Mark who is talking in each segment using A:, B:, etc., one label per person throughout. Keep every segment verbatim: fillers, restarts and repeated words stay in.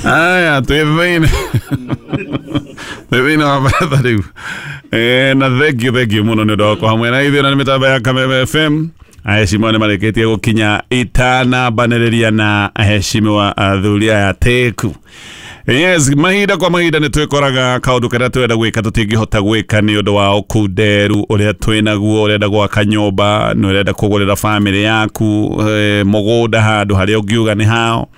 A: Aya, twĩ thĩinĩ twĩ thĩinĩ wa baratha rĩu. Eh, na thengiũ thengiũ mũno nĩ ũndũ wa gũkorwo hamwe na ithuĩ na nĩ mĩtambo ya Kameme F M. Aheshimiwa nĩ marĩkĩtie gũkinya itanambanĩrĩria na aheshimiwa athuri aya teku. Yes, mahinda kwa mahinda nĩ twĩkoraga kaũndũ karĩa twenda gwĩka tũtingĩhota gwĩka nĩ ũndũ wa ũkunderu ũrĩa twĩnaguo. Ũrenda gwaka nyũmba, nĩ ũrenda kũgũrĩra bamĩrĩ yaku eh, mũgũnda handũ harĩa ũngiuga nĩ hao,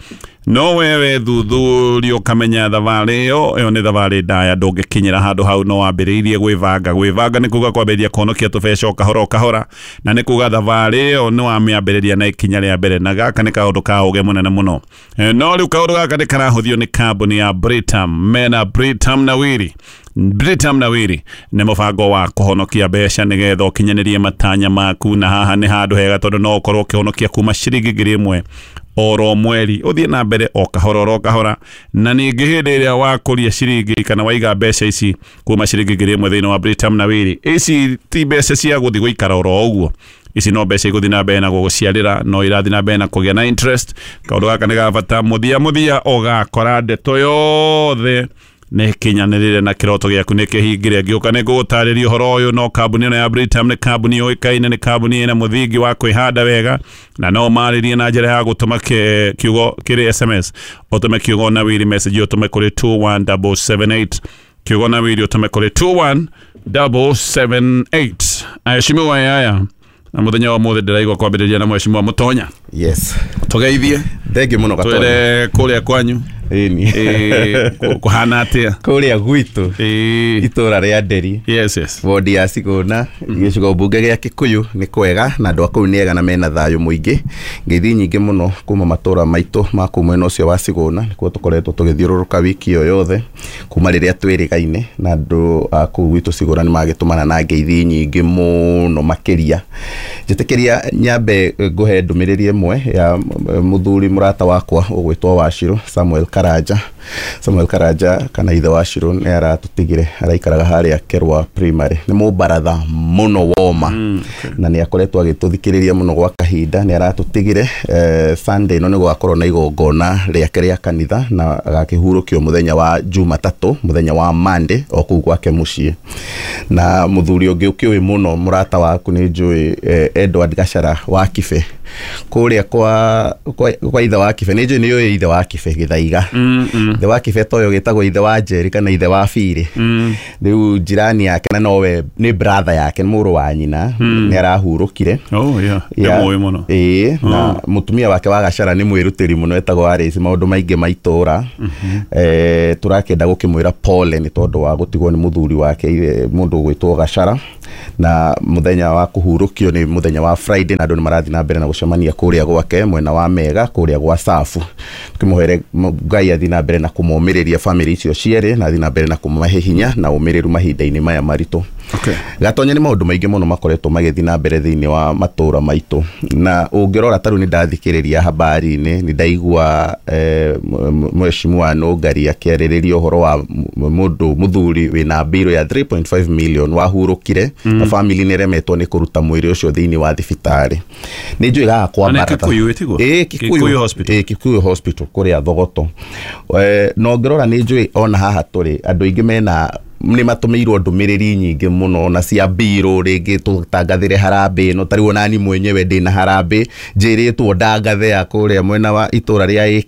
A: no wewe thuthuria ũkamenya thabarĩ ĩyo ĩyo nĩ thabarĩ ndaya, ndũngĩkinyĩra handũ hau. No wambĩrĩirie gwĩbanga. Gwĩbanga nĩ kuga kwambĩrĩria kũhonokia tũbeca o kahora o kahora, na nĩ kuga thabarĩ ĩyo nĩ wamĩambĩrĩria na ikinya rĩa mbere, na gaka nĩ kaũndũ ka ũgĩ mũnene mũno. Eh, no rĩu kaũndũ gaka nĩ karahũthio nĩ kambuni ya Britam. Mena Britam Nawiri. Britam Nawiri nĩ mũbango wa kũhonokia mbeca nĩgetha ũkinyanĩrie matanya maku, na haha nĩ handũ hega tondũ no ũkorwo ũkĩhonokia kuma ciringi ngiri ĩmwe oro mweri, ũthiĩ na mbere o kahora oro kahora. Na ningĩ hĩndĩ ĩrĩa wakũria ciringi kana waiga mbeca ici kuma ciringi ngiri ĩmwe thĩinĩ wa Britam Nawiri, ici ti mbeca cia gũthiĩ gũikara oro ũguo. Ici no mbeca igũthiĩ na mbere na gũgũciarĩra, no irathiĩ na mbere na kũgĩa na interest. Kaũndũ gaka nĩ ga bata. Mũthia mũthia ũgakora ndeto yothe nĩ kinyanĩrĩre na kĩroto gĩaku nĩ kĩhingire. Ngĩũka nĩ ngũgũtarĩria ũhoro ũyũ. No kambuni ĩno ya Britam nĩ kambuni yũĩkaine, nĩ kambuni ĩna mũthingi wa kwĩhanda wega, na no marĩrie na njĩra ya gũtũma kĩ- kiugo kĩrĩ S M S. Ũtũme kiugo Nawiri message, ũtũme kũrĩ two one seven seven eight. Kiugo Nawiri ũtũme kũrĩ two one seven seven eight. Aheshimiwa aya, na mũthenya wa mũthĩ ndĩraigua kwambĩrĩria na mheshimiwa Mũtonya.
B: Yes.
A: Tũgeithie.
B: Thengiũ mũno, Gatonya.
A: Twĩre kũrĩa kwanyu.
B: Ĩni.
A: Ĩĩ, kũ- kũhana atĩa?
B: Kũrĩa gwitũ,
A: Ĩĩ.
B: itũra rĩa Nderi,
A: yes yes
B: wodi ya Cigũna, gĩcigo mbunge gĩa Kikuyu, nĩ kwega na andũ a kũu nĩ ega na mena thayũ mũingĩ. Ngeithi nyingĩ mũno kuma matũra maitũ ma kũu mwena ũcio wa Cigũna. Nĩkuo tũkoretwo tũgĩthiũrũrũka wiki ĩyo yothe kuma rĩrĩa twĩrĩgaine na andũ a kũu gwitũ Cigũna. Nĩ magĩtũmana na ngeithi nyingĩ mũno makĩria. Njĩtĩkĩria nyambe ngũhe ndũmĩrĩri ĩmwe ya mũthuri mũrata wakwa ũgwĩtwo Wachirũ Samuel Karanja. Samuel Karanja kana ithe Wachirũ nĩ aratũtigire, araikaraga harĩa Kerwa Primary. Nĩ mũbaratha mũno woma mm, okay. Na nĩ akoretwo agĩtũthikĩrĩria mũno gwa kahinda. Nĩ aratũtigire. eh, Sunday ĩno nĩ gũgakorwo na igongona rĩake rĩa kanitha na agakĩhurũkio mũthenya wa Jumatatũ, mũthenya wa Monday, o kũu gwake mũciĩ. Na mũthuri ũngĩ ũkĩũĩ mũno, mũrata waku nĩ njũĩ, eh, Edward Gachara wa Kibe kũrĩa kwa, kwa, kwa ithe wa Kibe. Nĩ njũĩ nĩ ũĩ ithe wa Kibe Gĩthaiga.
A: mm, mm.
B: Ithe wa Kibe toyo gĩtagwo ithe wa Njeri kana ithe wa Biri.
A: Mm.
B: Rĩu njirani yake na nowe nĩ brother yake, nĩ mũrũ wa nyina, nĩ arahurũkire.
A: Oh yeah.
B: Ya-
A: nĩ mũĩ mũno.
B: Ĩĩ, na mũtumia wake wa Gacara nĩ mwĩrutĩri mũno, etagwo Alice maũndũ maingĩ ma itũra. eh, tũrakĩenda gũkĩmwĩra pole nĩ tondũ wa gũtigwo nĩ mũthuri wake, eh, mũndũ ũgwĩtwo Gacara. Na mũthenya wa kũhurũkio nĩ mũthenya wa Friday, na andũ nĩ marathiĩ na mbere na gũcemania kũrĩa gwake mwena wa Mega, kũrĩa gwa Safu. Tũkĩmũhere Ngai athiĩ na mbere na kũmomĩrĩria famĩlĩ icio cierĩ na athiĩ na mbere na kũmahe hinya na ũmĩrĩru mahinda-inĩ maya maritũ.
A: Okay.
B: Gatonya, nĩ maũndũ maingĩ mũno makoretwo magĩthiĩ na mbere thĩinĩ wa matũra maitũ, na ũngĩrora ta rĩu nĩ ndathikĩrĩria habari-inĩ, nĩ ndaigua eh, m- mheshimiwa Nũngari akĩarĩrĩria ũhoro wa m- mũndũ mũthuri wĩna mbirũ ya three point five million wahurũkire mm. na family nĩ ĩremetwo nĩ kũruta mwĩrĩ ũcio thĩinĩ wa thibitarĩ. Nĩ njũĩ gaka kwa
A: Na nĩ
B: baratha.
A: Kikuyu, ĩtiguo?
B: Ĩĩ,
A: Kikuyu Hospital.
B: Ĩĩ, Kikuyu Hospital kũrĩa Thogoto. Eh, na ũngĩrora nĩ njũĩ ona haha tũrĩ andũ aingĩ mena nĩ matũmĩirwo ndũmĩrĩri nyingĩ mũno na cia mbirũ, rĩngĩ tũtangathĩre harambĩ ĩno. Ta rĩu onani mwenyewe ndĩna harambĩ njĩrĩtwo ndangathe ya kũrĩa mwena wa itũra rĩa